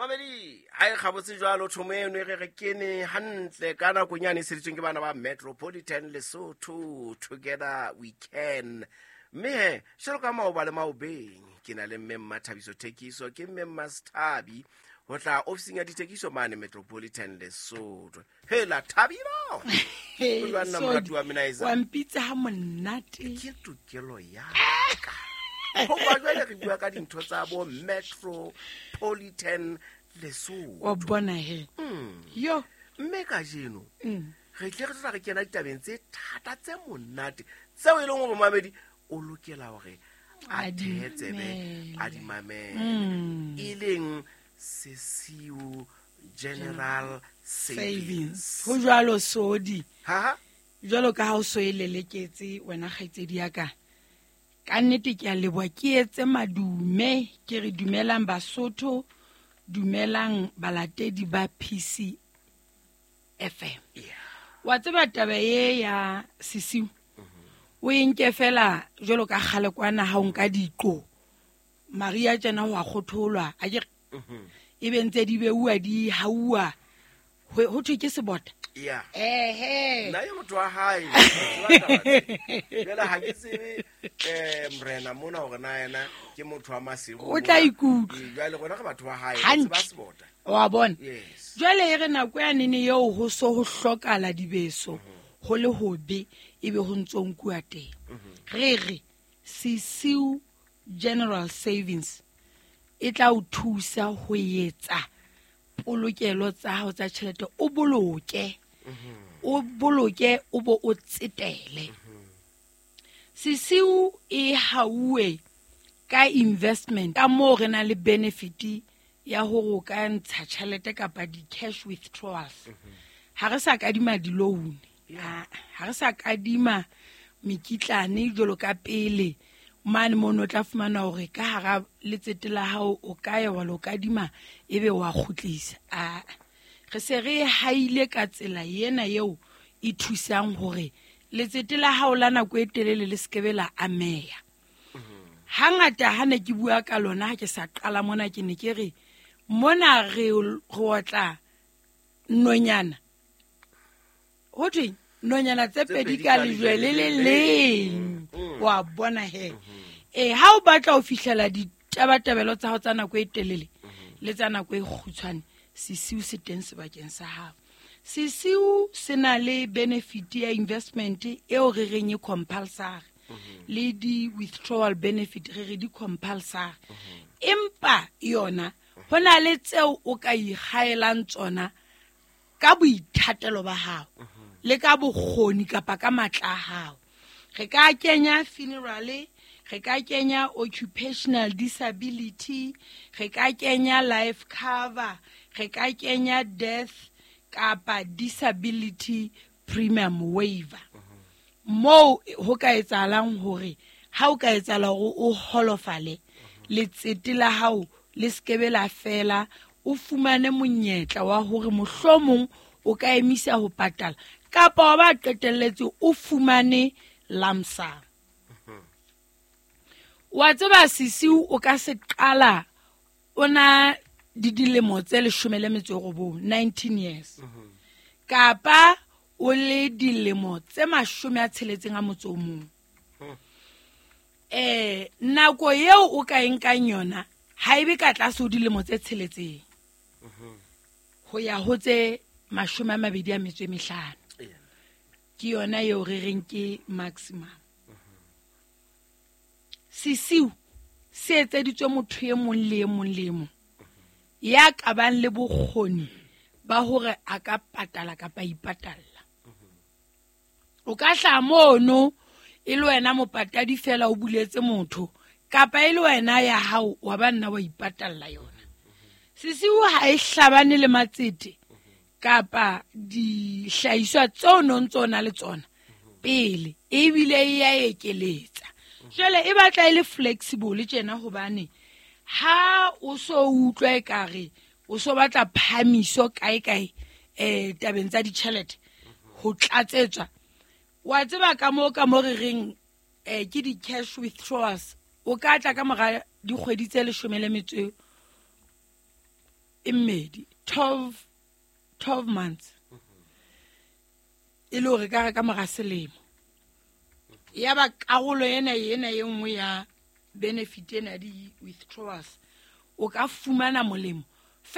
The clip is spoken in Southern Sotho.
Mamedi, ha e gabotse jwalo thomo eno e re re kene hantle ka nakong yane e seditsweng ke bana ba Metropolitan Lesotho, together we can. Mme he, jalo ka maoba le maobeng, ke na le mme Mmathabiso Thekiso, ke mme Mmasethabi ho tla ofising ya dithekiso mane Metropolitan Lesotho. Hela Thabilo! O jwang nna morati wa Minaiza? Wa mpitsa ha monate. Ke tokelo ya ka. Hoba jwale re bua ka dintho tsa bo Metropolitan Lesotho. Wa bona he. Yo. Mme kajeno re tle re tla re kena ditabeng tse thata tse monate tseo e leng hore momamedi o lokela hore a A di thehe tsebe a di mamele. mamele, e leng Sesiu General Savings. Savings. Ho jwalo Sodi. Ha? Jwalo ka ha o so e leleketse wena kgaitsedi ya ka. Ka nnete ke a leboha, ke etse madume, ke re dumelang Basotho, dumelang balatedi ba PC FM. Wa tseba taba e ya Sesiu, o e nke fela jwalo ka kgale kwana ha o nka diqo. Maria tjena ho a kgotholwa, a ke re, e be ntse di beuwa di hauwa. Ho thwe ke sebota. Yeah. Ehe. Nna ye motho wa hae, ke tseba taba tse. Jwale ha ke tsebe, morena mona hore na yena ke motho wa Maseru O tla mona. ikutlwa. Ee, jwale rona re batho ba hae, re Hantle. tseba sebota. Wa bona? Yes. Jwale e re nako ya nene eo ho so ho hlokala dibeso, ho le hobe, ebe ho ntso nkuwa teng. Re re Sesiu General Savings e tla o thusa ho etsa polokelo tsa hao tsa tjhelete, o boloke. O boloke, o bo o tsetele. Sesiu e hauwe ka investment, ka moo re na le benefit ya hore o ka ntsha tjhelete kapa di-cash withdrawals. Ha re sa kadima di-loan, ha re sa kadima mekitlane jwalo ka pele. Mane mono o tla fumana hore ka hara letsete la hao o ka ya wa lo kadima ebe wa kgutlisa. Re se re haile ka tsela ena eo e thusang hore letsete la hao la nako e telele le sekebe la ameha. Hangata ha ne ke bua ka lona ha ke sa qala mona, ke ne ke re mona re otla nonyana. Ho thweng? Nonyana tse Tse pedi pedi ka ka lejwe lejwe le le le le leng. leng. Wa bona he. Ha o batla ho fihlela ditabatabelo tsa hao tsa nako e telele le tsa nako e kgutshwane, Sesiu se teng sebakeng sa hao. Sesiu se na le benefit ya investment eo re reng e compulsory, le di-withdrawal benefit re re di compulsory. Empa yona ho na le tseo o ka ikgaelang tsona ka boithatelo ba hao le ka bokgoni kapa ka matla a hao. Re ka kenya funeral, re ka kenya occupational disability, re ka kenya life cover, re ka kenya death kapa disability premium waiver. Moo ho ka etsahalang hore ha o ka etsahala hore o holofale, letsete la hao le sekebe la fela, o fumane monyetla wa hore mohlomong o ka emisa ho patala kapa wa ba qetelletse o fumane lump sum. Wa tseba Sesiu o ka se qala o na di dilemo tse leshome le metso e robong, 19 years. Kapa o le dilemo tse mashome a tsheletseng a motso o mong. Nako eo o ka e nkang yona ha ebe ka tlase ho dilemo tse tsheletseng. Ho ya ho tse mashome a mabedi a metso e mehlano. Ke yona eo re reng ke maximum. Sesiu se etseditswe motho e mong le e mong le e mong ya ka bang le bokgoni ba hore a ka patala kapa ipatalla. O ka hlaha mono e le wena mopatadi fela o buletse motho, kapa e le wena ya hao wa ba nna wa ipatalla yona. Sesiu ha e hlabane le matsete kapa dihlahiswa tseo no ntso na le tsona pele, ebile e ya ekeletsa. Jwale e batla e le flexible tjena, hobane ha o so utlwa ekare o so batla phahamiso kae kae, tabeng tsa ditjhelete ho tlatsetswa, wa tseba ka moo ka mo re reng, ke di-cash withdrawals, o ka tla ka mora dikgwedi tse leshome le metso e mmedi, 12 months, e le hore ka re ka mora selemo ya ba karolo ena ena e nngwe ya benefit ena ya di-withdrawals, o ka fumana molemo